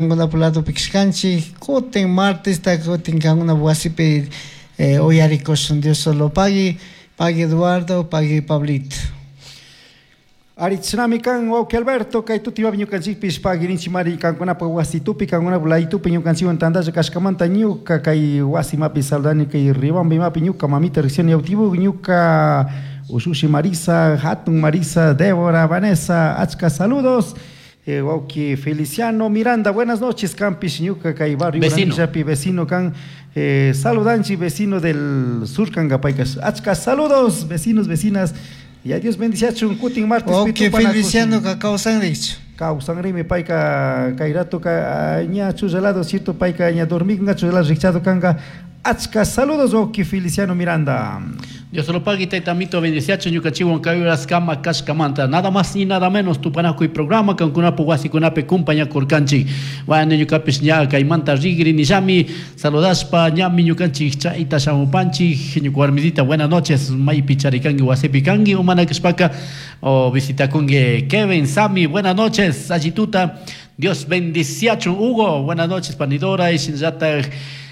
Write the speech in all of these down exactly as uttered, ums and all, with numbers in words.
Kankunapa ladopi kashkanchik, kutin martesta kutin kankunapa wasipi eh, uyarikushun. Dios solo pagui, pagui Eduardo, pagui Pablito. Ari chinami kan wawki Alberto, kay tutiwapi ñukanchikpish pagirinchimari kankunapa wasitupi, kankunapa laytupi ñukanchikwan tantalla kashkamanta ñuka kay wasimapi saludani kay Riobamba imapi ñuka mamita recién yautibu, ñuka ushushi Marisa, hatun Marisa, Débora, Vanessa, achka saludos. Eh, wawki Feliciano Miranda, buenas noches, kampish ñuka kay barrio Vecino. Uranillapi vecino kan, eh, saludanchi vecino del sur kankapaykas, achka saludos vecinos, vecinas. Y a Dios bendiciachun kutin martes Wawki Feliciano ka kawsanrichu. Kawsanrimi payka kay rato ka ña chullalado cierto payka ña dormikunga chullalado rikchado kanka. Achka saludos wawki Feliciano Miranda. Dios lo pague, taitamito bendiciacho ñukanchikwan kay horas kama kashkamanta. Nada más ni nada menos tupanakuy programa kankunapu wasikunapi kumpañakurkanchik. Bueno, ñukapish ña kaymanta rigri nillami saludashpa ñami ñukanchik chayta shamupanchik. Ñuka warmisita, buenas noches, maypi charikanki wasipi kanki umana kashpaka o visitakunki Kevin, Sami, buenas noches, allituta. Dios bendiciacho Hugo, buenas noches, Panidora y shinallatak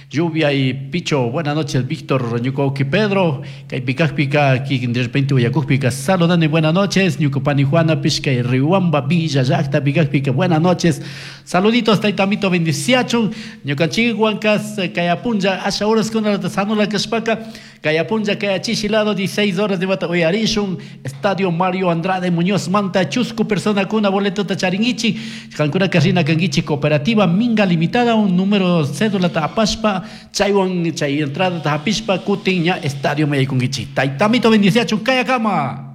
Lluvia y Picho, buenas noches, Víctor, ñuka Pedro, kaypikakpika, de repente uyakukpika, saludando y buenas noches, ñuka pani Juana, Pishka y Riobamba, Villa Llakta, pikakpika, buenas noches, saluditos, taitamito, bendiciachun, ñukanchikwankas, kayapunlla, asha horas con la sanula kashpaka, kayapunlla, kayachishi lado, dieciséis horas de bata uyarishun, Estadio Mario Andrade Muñoz Manta, chusku persona kuna boleto tacharingichi, kankuna karina kangichi, cooperativa Minga Limitada, un número cédula tapashpa, chaywan chay entrada tapishpa kutin ña estadio mayaykunkichik. Taitamito bendiciachun kayakama.